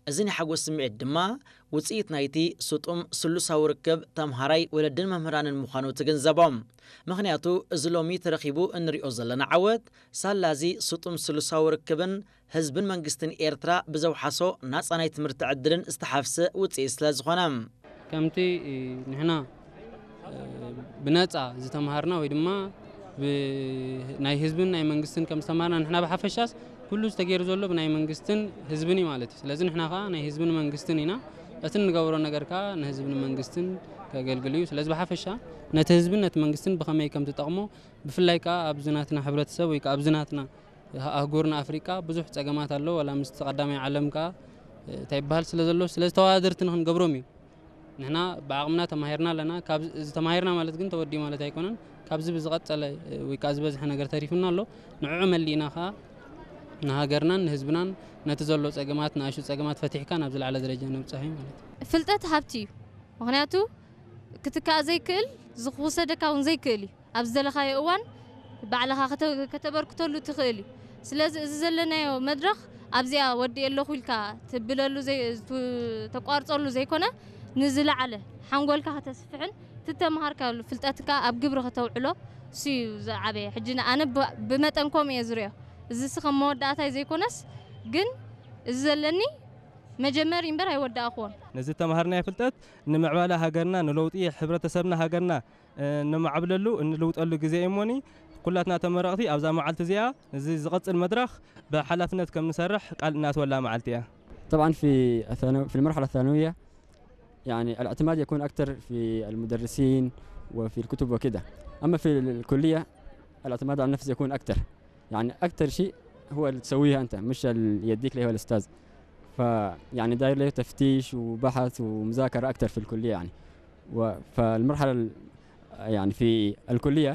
እዚ ናይ ሓጎስ ስምዒት ድማ ውጽኢት ናይቲ ስጡም ስሉሳዊ ርክብ ተምሃራይ ወለድን መምህራንን ምዃኑ ትግንዘቦም። ምኽንያቱ እዚ ሎሚ ተረኺቡ እንሪኦ ዘለና ዓወት ሳላ እዚ ስጡም ስሉሳዊ ርክብን ህዝብን መንግስትን ኤርትራ ብዘውሓሶ ናጻ ናይ ትምህርቲ ዕድልን ዝተሓፍሰ ውጽኢት ስለ ዝኾነ። ከምቲ ንሕና ብነጻ ዝተምሃርና ወይ ድማ ናይ ህዝብን ናይ መንግስትን ከም ዝተምሃርና ንሕና ብሓፈሻስ ኩሉ ዝተገይሩ ዘሎ ብናይ መንግስትን ህዝብን እዩ ማለት እዩ። ስለዚ ንሕና ከዓ ናይ ህዝብን መንግስትን ኢና። እቲ እንገብሮ ነገር ከዓ ንህዝብን መንግስትን ከገልግል እዩ። ስለዚ ብሓፈሻ ነቲ ህዝብን ነቲ መንግስትን ብኸመይ ከም ትጠቕሞ ብፍላይ ከዓ ኣብዚ ናትና ሕብረተሰብ ወይ ከዓ ኣብዚ ናትና ኣህጉርና ኣፍሪቃ ብዙሕ ጸገማት ኣሎ። ዋላ ምስቲ ቀዳማይ ዓለም ከዓ እንታይ ይበሃል ስለ ዘሎ ስለዚ ተወዳደርቲ ንክንገብሮም እዩ። ንሕና ብዓቕምና ተማሂርና ኣለና። ካብ እዚ ተማሂርና ማለት ግን ተወዲኡ ማለት ኣይኮነን። ካብዚ ብዝቐጸለ ወይ ከዓ ዝበዝሐ ነገር ተሪፉና ኣሎ። ንዕዑ መሊእና ከዓ ንሃገርናን ንህዝብናን ነቲ ዘሎ ጸገማት ንኣሽቱ ጸገማት ፈቲሕካ ናብ ዝለዓለ ደረጃ ነብጽሕ እዩ ማለት እዩ። ፍልጠት ሃብቲ እዩ። ምኽንያቱ ክትካእ ዘይክእል ዝኽውሰደካ እውን ዘይክእል እዩ። ኣብ ዝደለኻዮ እዋን ባዕልኻ ከተበርክተሉ ትኽእል እዩ። ስለዚ እዚ ዘለናዮ መድረኽ ኣብዚኣ ወዲኤ ኣለኹ ኢልካ ትብለሉ ተቋርፀሉ ዘይኮነ ንዝለዓለ ሓንጎልካ ከተስፍሕን ትተምሃርካሉ ፍልጠትካ ኣብ ግብሪ ከተውዕሎ እሱ እዩ ዝዓበየ። ሕጂ ኣነ ብመጠን ከምኡ እየ ዝሪኦ። እዚ ሲ ከም መወዳእታይ ዘይኮነስ ግን እዚ ዘለኒ መጀመሪ እምበር ኣይወዳእኽዎን። ነዚ ተምሃርናዮ ፍልጠት ንምዕባለ ሃገርና ንለውጢ ሕብረተሰብና ሃገርና ነማዕብለሉ እንልውጠሉ ግዜ እሞኒ ኩላትና ተመረቕቲ ኣብዛ መዓልቲ እዚኣ እዚ ዝቐጽል መድረኽ ብሓላፍነት ከም ንሰርሕ ቃል እናትወላ መዓልቲ እያ። طبعا في الثانو- في المرحلة الثانوية يعني الاعتماد يكون أكثر في المدرسين وفي الكتب وكده. أما في الكلية الاعتماد على النفس يكون أكثر. يعني أكثر شيء هو اللي تسويه أنت، مش اللي يديك ليه الأستاذ. فيعني داير له تفتيش وبحث ومذاكرة أكثر في الكلية يعني. و- فالمرحلة ال- يعني في الكلية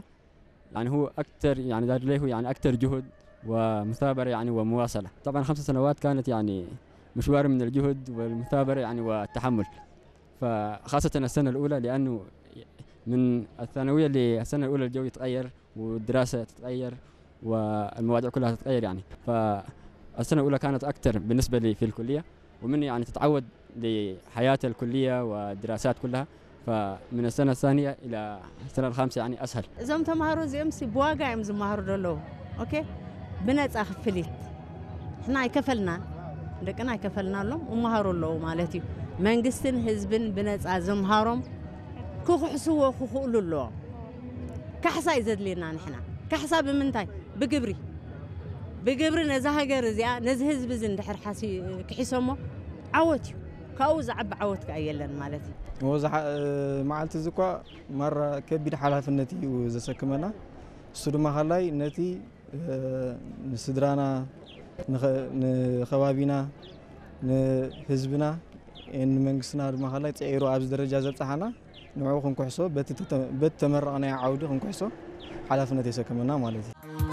يعني هو أكثر، يعني داير له يعني أكثر جهد ومثابرة يعني ومواصلة. طبعا خمس سنوات كانت يعني مشوار من الجهد والمثابرة يعني والتحمل. فخاصة السنة الأولى لأنه من الثانوية للسنة الأولى الجو يتغير والدراسة تتغير والمواضيع كلها تتغير يعني. فالسنة الأولى كانت أكثر بالنسبة لي في الكلية، ومن يعني تتعود لحياة الكلية والدراسات كلها. فمن السنة الثانية إلى السنة الخامسة يعني أسهل. እዞም ተምሃሮ እዚኦም ሲ ብዋጋ እዮም ዝመሃሩ ዘለዉ። ኦኬ፣ ብነፃ ክፍሊት ንሕና ኣይከፈልናን፣ ደቅና ኣይከፈልናሎም፣ ይመሃሩ ኣለዉ ማለት እዩ። መንግስትን ህዝብን ብነፃ ዘምሃሮም ክኽሕስዎ ክኽእሉ ኣለዎም። ካሕሳ እዩ ዘድልየና ንሕና። ካሕሳ ብምንታይ? ብግብሪ። ብግብሪ ነዛ ሃገር እዚኣ ነዚ ህዝቢ እዚ እንድሕር ሓሲ ክሒሶሞ ዓወት እዩ። ካብኡ ዝዓቢ ዓወት ከኣ የለን ማለት እዩ። እሞ እዚ ሓ- መዓልቲ እዚ እኳ ማራ ከቢድ ሓላፍነት እዩ ዘሰክመና። እሱ ድማ ካልኣይ ነቲ ንስድራና ንኸባቢና ንህዝብና ንመንግስትና ድማ ካልኣይ ፅዒሩ ኣብዚ ደረጃ ዘብፅሓና ንዕኡ ክንኩሕሶ በቲ ተመረቕናዮ ዓውዲ ክንኩሕሶ ሓላፍነት የሰክመና ማለት እዩ።